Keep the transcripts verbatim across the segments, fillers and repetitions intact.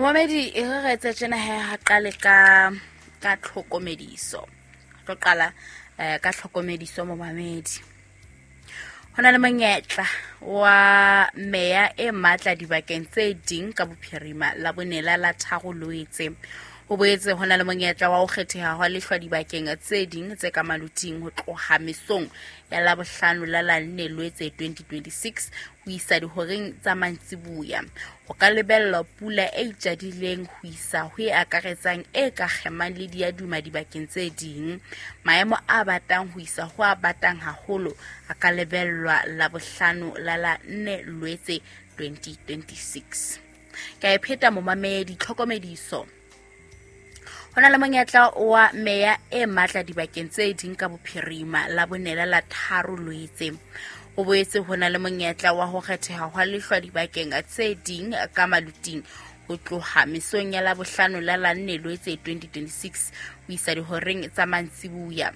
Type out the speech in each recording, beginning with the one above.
Momamedi e re re etse tjena he ha qale ka ka tlhokomediso. Tlo qala eh, ka tlhokomediso momamedi. Ho na le monyetla wa meya e matla dibakeng tse ding ka bophirima la bonela la tharo Loetse. Ho boetse ho na le monyetla wa ho kgetheha hwa lehlwa dibakeng tse ding tse ka maluting ho tloha mesong ya Labohlano la la nne Loetse twenty twenty-six ho isa dihoreng tsa mantsiboya. Ho ka lebellwa pula e itjadileng ho isa ho e akaretsang e ka kgemang le diaduma dibakeng tse ding. Maemo a batang ho isa ho a batang haholo a ka lebellwa Labohlano la la nne Loetse twenty twenty-six. Ka e pheta momamedi tlhokomediso. Ho na le monyetla wa meya e matla dibakeng tse ding ka bophirima la bonela la tharo Loetse. Ho boetse ho na le monyetla wa ho kgetheha hwa lehlwa dibakeng tse ding ka maluting ho tloha mesong ya Labohlano la la nne Loetse twenty twenty-six ho isa dihoreng tsa mantsiboya.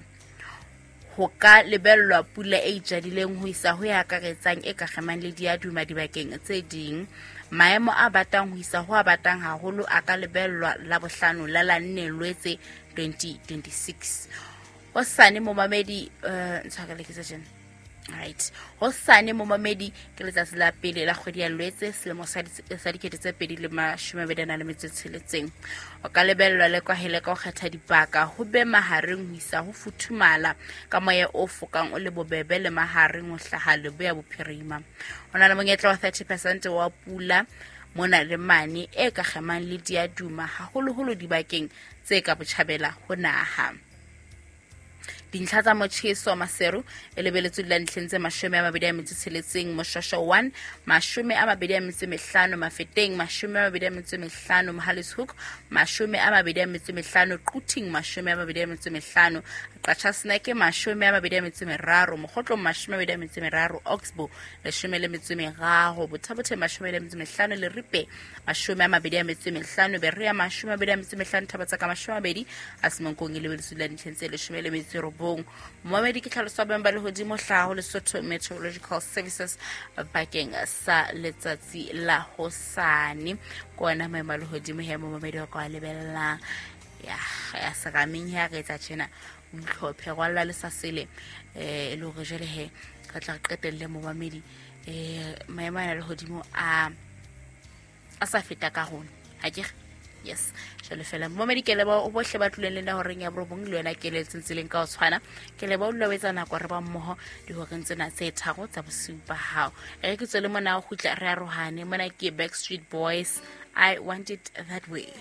Ho ka lebellwa pula e itjadileng ho isa ho e akaretsang e ka kgemang le diaduma dibakeng tse ding. Maemo a batang ho isa ho a batang haholo a ka lebellwa Labohlano la la nne Loetse twenty twenty-six. Hosane momamedi, eh, ntshwarele ke tse tjena. Right. Hosane momamedi ke letsatsi la pele la kgwedi ya Loetse selemo sa di-, sa dikete tse pedi le mashome a mabedi a nang le metso e tsheletseng. O ka lebellwa le kwahele ka ho kgetha dibaka ho be mahareng ho isa ho futhumala ka moya o fokang o le bobebe le mahareng ho hlaha leboya bophirima. Ho na le monyetla wa thirty percent wa pula mona le mane e ka kgemang le diaduma haholoholo dibakeng tse ka botjhabela ho naha. Dintlha tsa motjheso Maseru e lebeletswe dula ntlheng tse mashome a mabedi a metso e tsheletseng, Moshwashwa one, mashome a mabedi a metso e mehlano, Mafeteng, mashome a mabedi a metso e mehlano, Mohale's Hoek, mashome a mabedi a metso e mehlano, Quthing, mashome a mabedi a metso e mehlano, Qacha's Nek, mashome a mabedi a metso e meraro, Mokhotlong, mashome a mabedi a metso e meraro, Oxbow, leshome le metso e meraro, Botha-Bothe, mashome le metso e mehlano, Leribe, mashome a mabedi a metso e mehlano, Berea, mashome a mabedi a metso e mehlano, Thaba-Tseka, mashome a mabedi, a Semonkong e lebeletswe dula ntlheng tse leshome le metso e robong. Momamedi ke tlhaloso ya boemo ba lehodimo hlaha ho Lesotho Meteorological Services bakeng sa letsatsi la hosane. Ke ona maemo a lehodimo he momamedi wa ka wa lebellang. Ya, ya serameng he a re etsa tjena, o itlhophe, rwalla le sa sele, eh, e le hore jwale he re tla re qetelle momamedi, eh, maemo ana a lehodimo a, a sa feta ka rona. Ha ke re? Yes. Jwale fela momamedi ke leboha o bohle ba tlileng le nna horeng ya borobong, le wena ke le tseleng ka ho tshwana. Ke leboha o dula o etsa nako re ba mmoho dihoreng tsena tse tharo tsa bosiu ba hao. E re ke tswele mona ho kgutla re arohane. Mona ke Backstreet Boys, I Want It That Way.